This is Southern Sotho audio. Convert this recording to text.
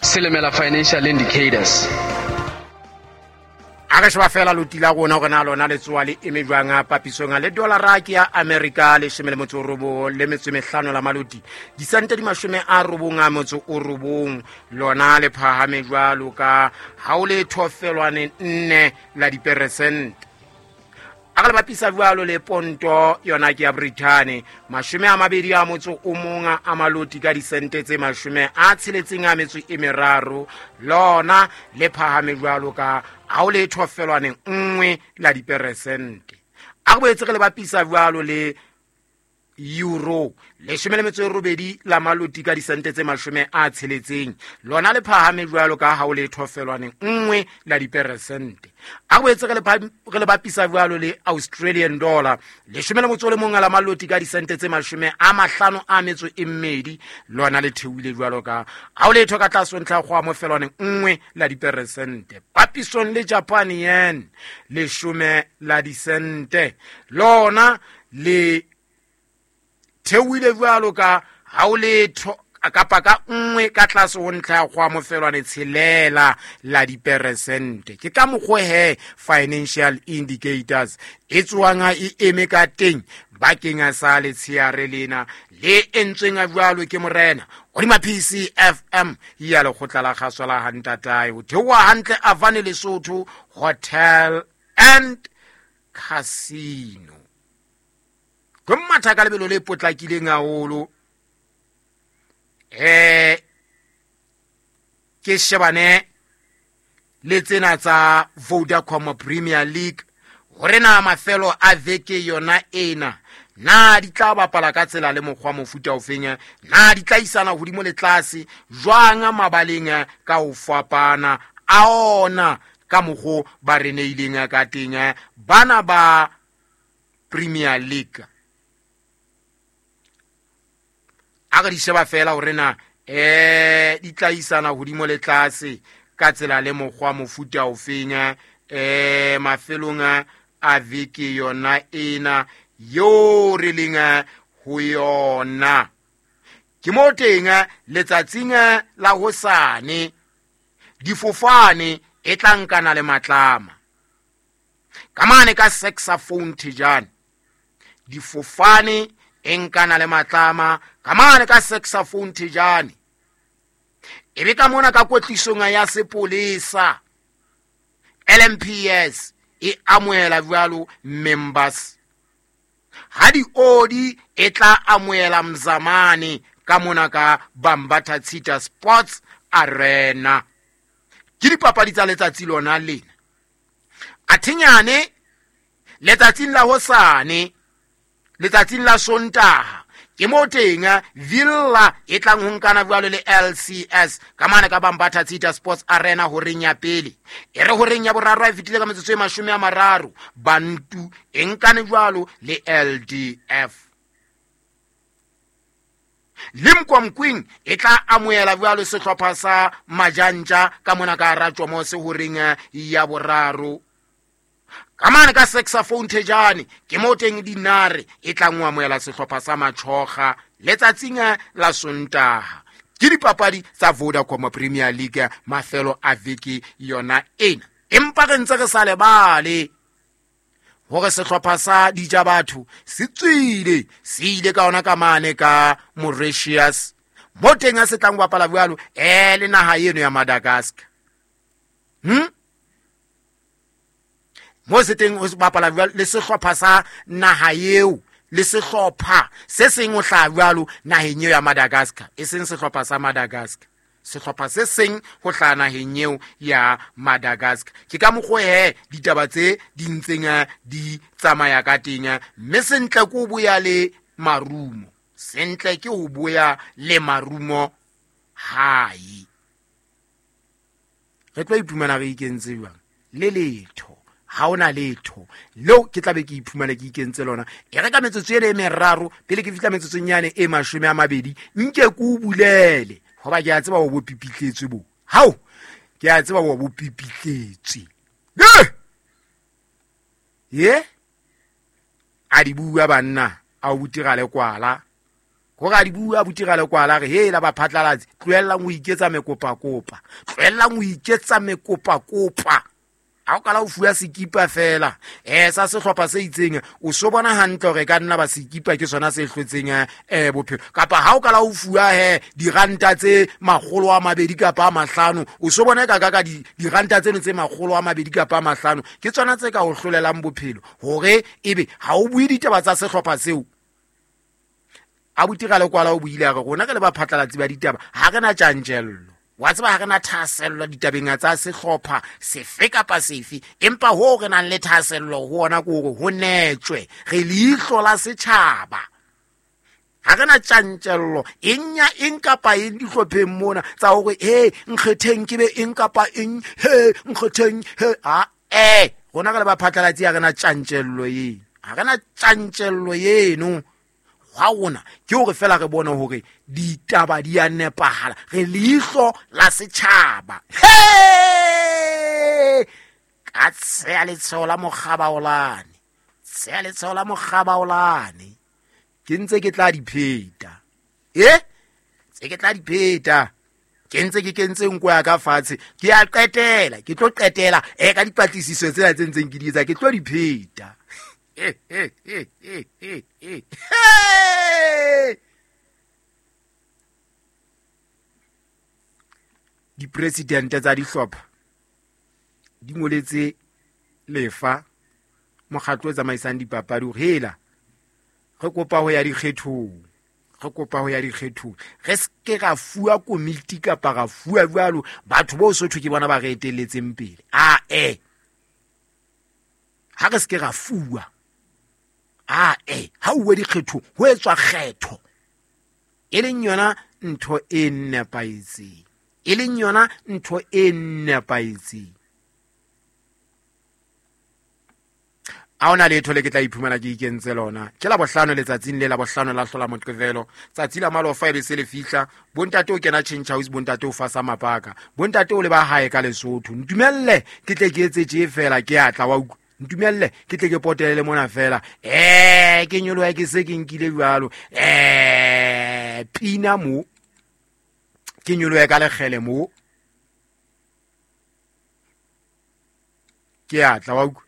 Silimela Financial Indicators. A re sheba fela loti la rona gore na lona le tsoa le eme jwang a papisong le dollara ke ya America leshome le motso o robong le metso e mehlano la maloti disente di 99 lona le phahame jwalo ka ha o le thofelwane nne la diperesente. A re le bapisa jwalo le ponto yona ke ya Britain 21 a maloti ka disente tse 63 lona le phahame jwalo ka ha o le thofelwane nngwe la diperesente. A re boetse re le bapisa jwalo le euro 18 la maloti ka disente tse 60 lona le phahame jwalo ka ha o le thofelwane nngwe la diperesente. A boetse re le bapisa jwalo le Australian dollar 11 la maloti ka disente tse 52 lona le theohile jwalo ka ha o le tho ka tlase ntlha go amofelwane nngwe la diperesente. Papisong le Japan yen 10 la disente lona le theohile jwalo ka ha o le kapa ka nngwe ka tlase ho ntlha ya go amofelwane tshelela la diperesente. Ke ka mokgwa he financial indicators e tswang e eme ka teng bakeng sa letsheare lena le entsweng jwalo ke morena hodima PCFM ya lekgotla la kgaso la Hantatae ho theoha hantle Avane Lesotho Hotel and Casino. Ke matha ka lebelo le potlakileng haholo. Ke shebane le tsena tsa Vodacom Premier League hore na mafelo a veke yona ena na di tla bapala ka tsela le mokgwa mofuta ofeng, na di tla isana hodimo le tlase jwang mabaleng ka ho fapana a ona ka mokgo ba re neileng ka teng bana ba Premier League. A re di sheba fela hore na di tla isana hodimo le tlase ka tsela le mokgwa mofuta ofeng mafelong a veke yona ena yo re leng ho yona. Ke mo teng letsatsing la hosane difofane e tla nkana le matlama ka mane ka saxophone thejane. Difofane e nkana le matlama ka mane ka saxophone thejane. E be ka mona ka kwetlisong ya sepolesa LMPS e amohela jwalo members. Ha di odi e tla amohela Mzamane ka mona ka Bambatha Tshita Sports Arena. Ke dipapadi tsa letsatsi lona lena. Athenyane letsatsing la hosane, letsatsing la Sontaha, ke mo teng Villa e tlang ho nkana jwalo le LCS ka mane ka Bambatha Tshita Sports Arena horeng ya pele. E re horeng ya boraro e fetile ka metsotso e 30, Bantu e nkane jwalo le LDF. Limkokwing e tla amohela jwalo sehlopha sa Majantja ka mona ka Ratjomose horeng ya boraro. Ka mane ka saxophone thejane ke mo teng dinare e tla ngo amohela sehlopha sa Machoga letsatsing la Sontaha. Ke dipapadi tsa Vodacom Premier League mafelo a veke yona ena. Empa re ntse re sa lebale hore sehlopha sa Dija Batho se tswile, se ile ka ona ka mane ka Mauritius mo teng a se tlang ho bapala jwalo le naha eno ya Madagascar. Mo se teng ho bapala jwalo le sehlopha sa naha eo le sehlopha se seng ho hlaha jwalo naheng eo ya Madagascar, e seng sehlopha sa Madagascar, sehlopha se seng ho hlaha naheng eo ya Madagascar. Ke ka mokgwa he ditaba tse di ntseng di tsamaya ka teng, mme sentle ke ho boya le marumo, sentle ke ho boya le marumo hae. Re tlo iphumana re ikentse jwang? Le letho, ha ona letho leo ke tla be ke iphumana ke ikentse lona. E re ka metsotso ena e meraro pele ke fihla metsotsong yane e 20 nke ke o bulele hoba ke a tseba o bo pipitletswe bo. Hao, ke a tseba o bo pipitletswe. Ye? A di bua banna, a o butira le kwala. Gore a di bua abuti Ralekwala re hela baphatlalatsi, tlohellang ho iketsa mekopakopa, tlohellang ho iketsa mekopakopa. Ha o kala o fuwa sekipa fela sa sehlopha se itseng, o so bona hantle hore e ka nna ba sekipa ke sona se hlotseng bophelo. Kapa ha o kala o fuwa he diranta tse 200 kapa a 5, o so bona ka ka diranta tseno tse 200 kapa a 5 ke tsona tse ka o hlolelang bophelo, hore ebe ha o bue ditaba tsa sehlopha seo. Abuti Ralekwala o buile a re rona re le baphatlalatsi ba ditaba ha re na tjantjello, wa tseba, ha re na thahasello ditabeng tsa sehlopha sefe kapa sefe, empa hoo re nang le thahasello ho ona ke hore ho netjwe, re leihlo la setjhaba. Ha re na tjantjello eng ya eng kapa eng dihlopheng mona tsa hore he nkgetheng ke be eng kapa eng, he nkgetheng he a rona re le baphatlalatsi ha re na tjantjello eno, ha re na tjantjello eno. Hwa rona ke hore fela re bone hore ditaba di a nepahala, re leihlo la setjhaba. He! Ka tsheya letsheo la mokgabaolane, tsheya letsheo la mokgabaolane, ke ntse ke tla di pheta. Tse ke tla di pheta. Ke ntse ke kentse nko ya ka fatshe, ke a qetela, ke tlo qetela ka dipatlisiso tsena tse ntseng ke di etsa, ke tlo di pheta. Dipresidente tsa dihlopha di ngoletse lefa mokgatlo o tsamaisang dipapadi hore hela re kopa ho ya dikgethong, re kopa ho ya dikgethong, re se ke ra fuwa komiti kapa ra fuwa jwalo batho bo Sotho ke bona ba re etelletseng pele. A ha re se ke ra fuwa, a ha uwe dikgethong ho etswa kgetho, e leng yona ntho e nepahetseng, e leng yona ntho e nepahetseng. Ha hona letho le ke tla iphumana ke ikentse lona. Ke la bohlano letsatsing le la bohlano la hlola Moqebelo, tsatsi la malofa e be se le fihla. Bontate o kena change house, bontate o fasa mapaka, bontate o le ba hae ka Lesotho. Ntumelle ke tle ke etse tje fela, ke atla wa utlwa. Ntumelle ke tle ke potele mona fela. Ke nyoloha ke se ke nkile jwalo. Pina mo. Ke nyoloha ka lekgele mo. Ke atla wa utlwa.